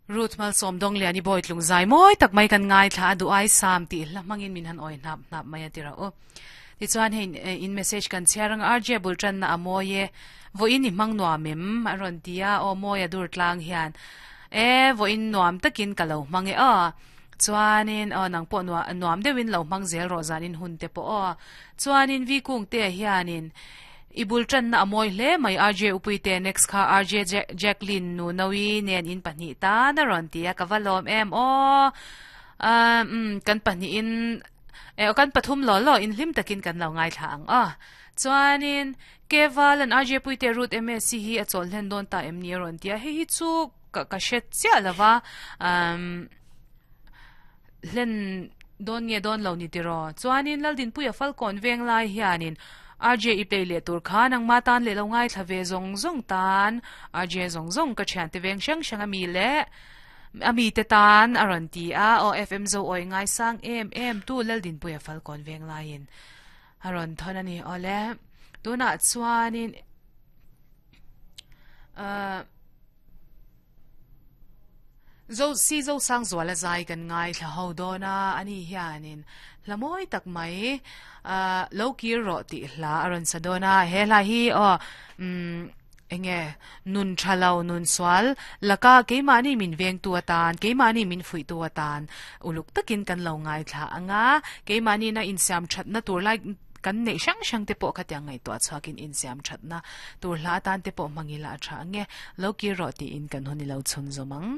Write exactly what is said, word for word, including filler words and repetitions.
Ruth mal som dong lian i boy tlung zai moi tak mai kan ngai thla du ai sam ti hla mangin min han oi hnap hnap mai atira o ti chuan hein in message kan chiarang R J bultran na amoye vo in i mang nuam mem aron tia o moya dur tlang hian e vo in nuam takin kalo mange a chuanin o nang po nuam nuam deuhin lo mang zel ro zanin hun te po o chuanin vi kung te hianin ibul tran na amoi hle mai R J upuite next kha R J Jacqueline nu nawi nen in pahnih ta na ron tia kavalom em o um kan pahnih in e kan pathum lo lo in hlim takin kan lo ngai thla ang a chuanin keval an R J puite root M S C hi a chol hlen don ta em ni ron tia he hi chu ka ka shet chia lawa um hlen don nge don lo ni tiro chuanin laldin puya falcon veng lai hianin R J i play le tur khan ang ma tan le lo ngai thlave zong zong tan R J zong zong ka thian te veng sang sang ami le ami te tan aron ti a o F M zo oi ngai sang em em tu laldin puya falcon veng laiin aron thonani ole tuna chuanin uh zo si zo sang zwala zai kan ngai thla ho dona ani hianin lamoi tak mai a lo kir ro ti hla aron sadona he hla hi o um enge nun thalo nun swal laka keimani min veng tu atan keimani min fui tu atan uluk takin kan lo ngai thla anga keimani na insiam that na tur lai kan nei sang sang te pawh khatiang ngai to chuakin insiam that na tur hla tan te pawh mangila tha ange lo ki ro ti in kan honi lo chun zomang.